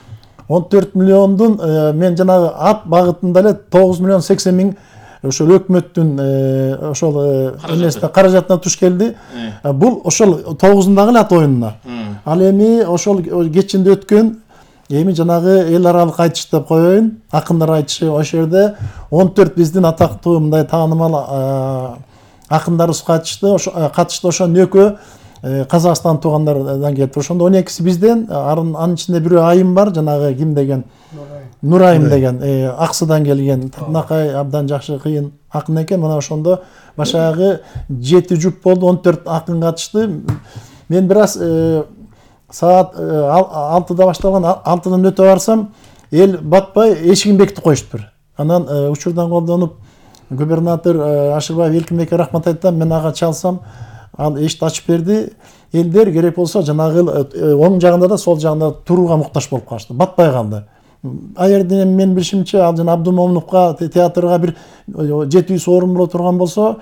Speaker 6: он төрт миллиондун мен жанагы ат багытында эле тогуз миллион сексен миң ошол өкмөттүн ошол эмесине каражатына туш келди. Бул ошол тогузундагы эле ат оюнуна. Ал эми ошол кечинде өткөн эми жанагы эл аралык айтыш деп коеюн, акындар айтышы, ошол жерде он төрт биздин атактуу мындай таанымал акындарыбыз катышты. Катышты ошонун экөө Казакстан туугандардан келип, ошондо он экиси бизден, анын ичинде бирөө Айым бар, жанагы ким деген, Нурайым деген, Аксыдан келген, Тырнакай абдан жакшы кыйын акын экен. Мына ошондо башагы жети жуп болду, он төрт акын катышты. Мен бир аз саат алтыда башталган, алтыдан өтө барсам, эл батпай эшигин бекитип коюштур. Анан учурдан колдонуп губернатор Ашырбаев Элкинбекке рахмат айтам, мен ага чалсам, ал эшикти ачып берди. Элдер керек болсо жанагы оң жагында да сол жагында турууга муктаж болуп калышты, батпай калды. А жерде мен билишимче ал жана Абдумомуновго театрга бир жети жүз орун боло турган болсо,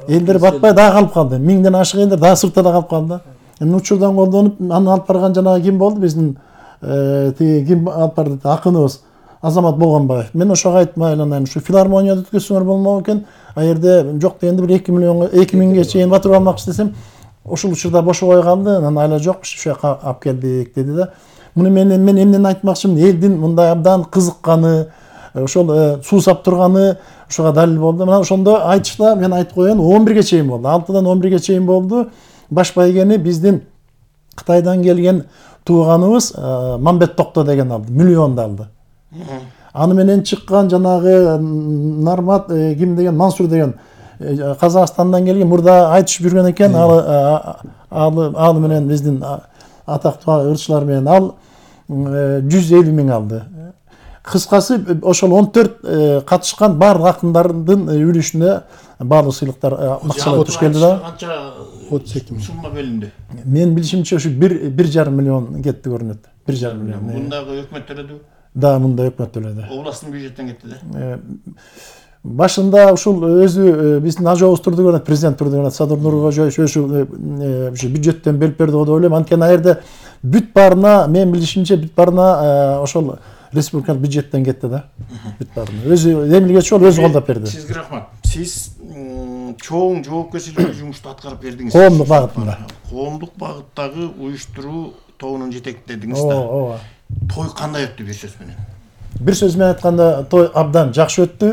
Speaker 6: элдер батпай дагы калып калды. Миңден ашык элдер дагы сыртта да калып калды. Эми учурдан колдонуп аны алып барган жанагы ким болду? Биздин тиги ким алып барды? Акыныбыз Азамат Болгонбаев. Мен ошого айтып айланайм, ушу филармонияда өткөзсөңөр болмок экен. А жерде жок дегенде бир эки миллионго, эки миңге чейин батырып алмакчы десем, ошол учурда бошобой калды. Анан айла жок, ушу жака алып келдик деди да. Муну мен мен эмнени айтмакчымын? Элдин мындай абдан кызыкканы, ошол суу сап турганы ошого далил болду. Мына ошондо айтышта мен айтып коеюн, он бирге чейин болду. алтыдан он бирге чейин болду. Баш байгени биздин Кытайдан келген тууганыбыз Мамбет Токто деген алды, миллионду алды. Аны менен чыккан жанагы Нармат ким деген, Мансур деген Казакстандан келген, мурда айтышып жүргөн экен, ал ал менен биздин атактуу ырчылар менен ал жүз элүү миң алды. Кыскасы ошол он төрт катышкан баардык акындардын үлүшүнө баардык сыйлыктар макчалар туш келди да.
Speaker 2: Канча отуз эки миң сумма бөлүндү? Мен
Speaker 6: билишимче ушу бир жарым миллион кетти көрүнөт. бир жарым миллион.
Speaker 2: Мундагы өкмөт төлөдү?
Speaker 6: Да, мында өкмөт төлөдү.
Speaker 2: Областтын бюджеттен кетти да.
Speaker 6: Башында ушул өзү биздин ажообуз турду көрөт, президент турду көрөт, Садыр Нуркожоевич ошол бюджеттен берип берди го деп ойлойм. Анткени ал жерде бүт баарына, мен билишимче бүт баарына ошол республикалык бюджеттен кетти да. Бүт баарына. Өзү демилгечи болуп өзү колдоп берди.
Speaker 2: Сизге рахмат. Сиз чоң жоопкерчиликтүү жумушту аткарып бердиңиз.
Speaker 6: Коомдук багытында.
Speaker 2: Коомдук багыттагы уюштуруу тобунун жетектедиңиз да.
Speaker 6: Ооба.
Speaker 2: Той кандай өттү бир сөз менен?
Speaker 6: Бир сөз менен айтканда, той абдан жакшы өттү.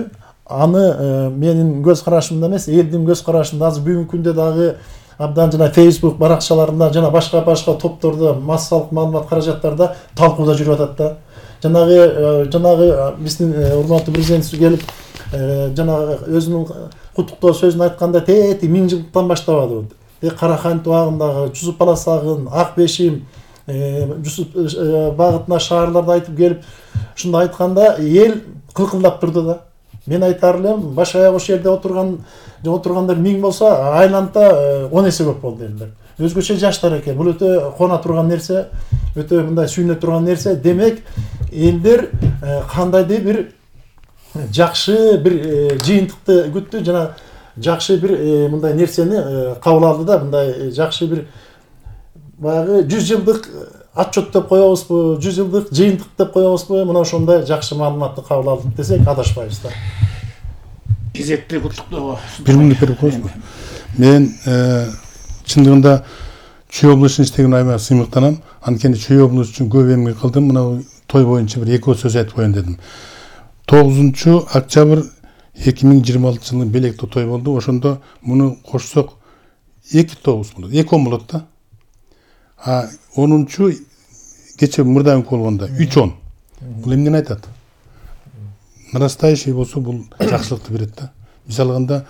Speaker 6: Аны менин көз карашымда эмес, элдин көз карашында азыр бүгүнкү күндө дагы абдан жана Facebook баракчаларында жана башка-башка топтордо массалык маалымат каражаттарда талкууда жүрүп атат да. Жанагы жанагы биздин урматтуу президентибиз келип, жанагы өзүнүн куттуктоо сөзүн айтканда тети миң жылдыктан баштабады. Карахан туагындагы Жусуп Баласагын, Ак Бешим, Жусуп багытына шаарларды айтып келип, ушунда айтканда эл кылкылдап турду да. Мен айтар элем, баш аяк ошол жерде отурган отургандар миң болсо, айланта он эсе көп болду элдер. Өзгөчө жаштар экен. Бул өтө кона турган нерсе, өтө мындай сүйүнө турган нерсе. Демек, элдер кандайдыр бир жакшы бир жыйынтыкты күттү, жана жакшы бир мындай нерсени кабыл алды да, мындай жакшы бир баягы жүз жылдык отчет деп коебузбу, жүз жылдык жыйынтык деп коебузбу, мына ошондой жакшы маалыматты кабыл алдык десек адашпайбыз да.
Speaker 2: Кезекти куттуктоого
Speaker 5: бир мүнөт берип коесузбу? Мен чындыгында Чүй облусун иштеген айымга сыймыктанам. Анткени Чүй облусу үчүн көп эмгек кылдым. Мына той боюнча бир эки сөз айтып коеюн дедим. тогузунчу октябрь эки миң жыйырма алтынчы жылы Белекте той болду. Ошондо муну кошсок эки тогуз болот, эки он болот да. А онунчу кече мурдагы болгондо үч он. Бул эмнени айтат? Нарастающий болсо бул жакшылыкты берет да. Мисалы алганда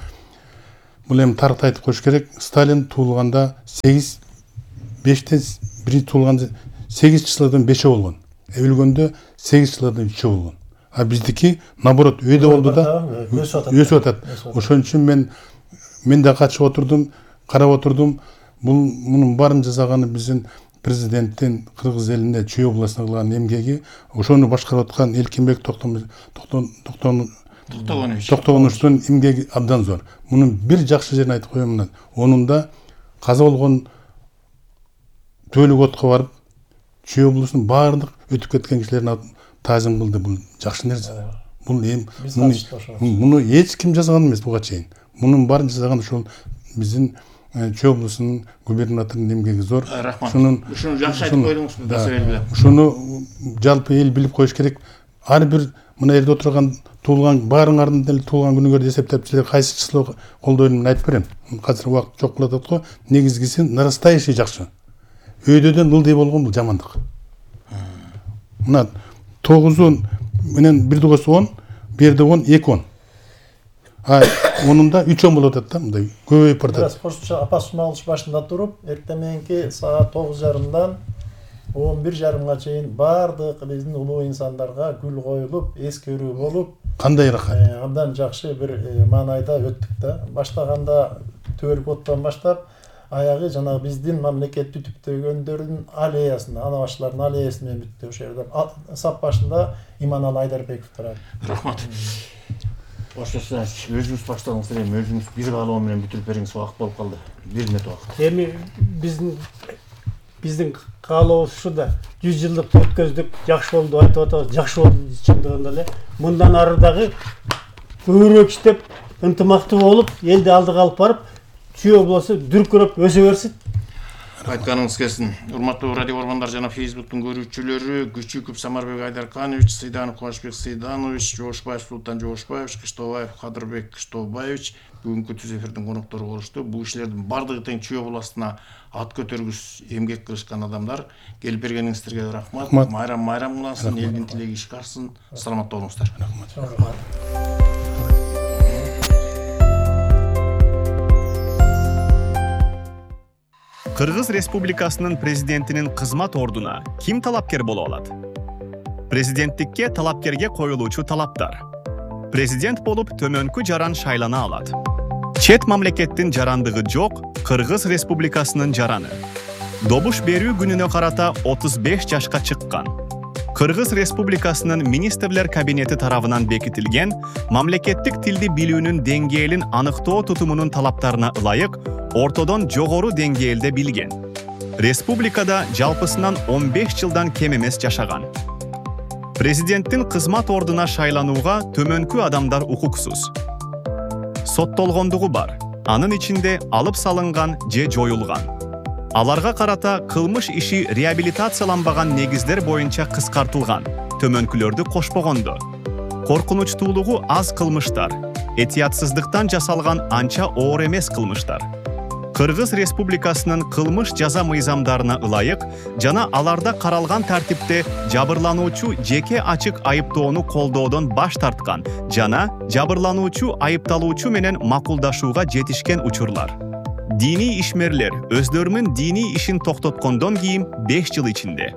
Speaker 5: бул эми тарыхты айтып коюш керек. Сталин туулганда сегиз бештен биринчи туулганда сегиз числоодон бешөө болгон. Өлгөндө сегиз числоодон үчөө болгон. А биздики наоборот өйдө болду да өсүп атат. Ошон үчүн мен мен да катышып отурдум, карап отурдум. Бул мунун баарын жасаганы биздин президенттин кыргыз элине Чүй областына кылган эмгеги, ошону башкарып аткан Элкинбек Токтогоновичтун эмгеги абдан зор. Мунун бир жакшы жерин айтып коеюн мына. Онун да каза болгон Төлөк отко барып, Чүй облусунун баардык өтүп кеткен кишилерин таазим кылды. Бул жакшы нерсе. Бул эми муну эч ким жасаган эмес буга чейин. Мунун баарын жасаган ошол биздин Чүй облусунун губернаторунун эмгеги зор.
Speaker 2: Ушуну ушуну жакшы айтып койдуңуз.
Speaker 5: Ушуну жалпы эл билип коюш керек. Ар бир мына жерде отурган туулган баарыңардын деле туулган күнүңөрдү эсептеп силер кайсы число колдойм айтып берем. Азыр убакыт жок болуп атат го. Негизгиси нарастающий жакшы. Өйдөдөн ылдый болгон бул жамандык. Мына тогузун менен бир тогуз он, бир жерде он, эки он. А онунда үч он болуп атат да, мындай көбөйүп баратат.
Speaker 6: Кошумча апас алыш башында туруп, эртең мененки саат тогуз жарымдан он бир жарымга чейин баардык биздин улуу инсандарга гүл коюлуп, эскерүү болуп,
Speaker 5: кандай рахат.
Speaker 6: Абдан жакшы бир маанайда өттүк да. Баштаганда Төлөк оттон баштап, аягы жана биздин мамлекетти түптөгөндөрдүн аллеясына, ана баштылардын аллеясы менен бүттү. Ошол жерде сап башында Иманалы Айдарбеков турат.
Speaker 2: Рахмат. Баштаса өзүңүз баштадыңыз эле, өзүңүз бир каалоо менен бүтүрүп бериңиз, убакыт болуп калды. бир минут убакыт.
Speaker 3: Эми биздин биздин каалообуз ушу да жүз жылдык өткөздүк, жакшы болду айтып атабыз, жакшы болду чындыгында эле. Мындан ары дагы көбүрөөк иштеп, ынтымактуу болуп, элди алдыга алып барып, Чүй облусу дүркүрөп өсө берсин.
Speaker 2: Айтканыңыз келсин. Урматтуу радио көргөндөр жана Facebooktун көрүүчүлөрү, Күчүков Самарбек Айдарканович, Сыйданов Кубашбек Сыйданович, Жошбаев Султан Жошбаевич, Кыштообаев Кадырбек Кыштообаевич бүгүнкү түз эфирдин коноктору болушту. Бул кишилердин бардыгы тең Чүй областына ат көтөргүс эмгек кылышкан адамдар. Келип бергениңиздерге рахмат. Майрам майрам кылынсын, элдин тилеги ишке ашсын. Саламатта болуңуздар.
Speaker 6: Рахмат.
Speaker 7: Кыргыз Республикасынын президентинин кызмат ордуна ким талапкер боло алат? Президенттикке талапкерге коюлуучу талаптар. Президент болуп төмөнкү жаран шайлана алат. Чет мамлекеттин жарандыгы жок Кыргыз Республикасынын жараны. Добуш берүү күнүнө карата отуз беш жашка чыккан. Кыргыз Республикасынын министрлер кабинети тарабынан бекитилген мамлекеттик тилди билүүнүн деңгээлин аныктоо тутумунун талаптарына ылайык ортодон жогору деңгээлде билген. Республикада жалпысынан он беш жылдан кем эмес жашаган. Президенттин кызмат ордуна шайланууга төмөнкү адамдар укуксуз. Соттолгондугу бар, анын ичинде алып салынган же жоюлган. Аларга карата кылмыш иши реабилитацияланбаган негиздер боюнча кыскартылган, төмөнкүлөрдү кошпогондо. Коркунучтуулугу аз кылмыштар, этиятсыздыктан жасалган анча оор эмес кылмыштар. Кыргыз Республикасынын кылмыш жаза мыйзамдарына ылайык жана аларда каралган тартипте жабырлануучу жеке ачык айыптоону колдоодон баш тарткан жана жабырлануучу айыпталуучу менен макулдашууга жетишкен учурлар. Дини ишмерлер өздөрүнүн дини ишин токтоткондон кийин беш жыл ичинде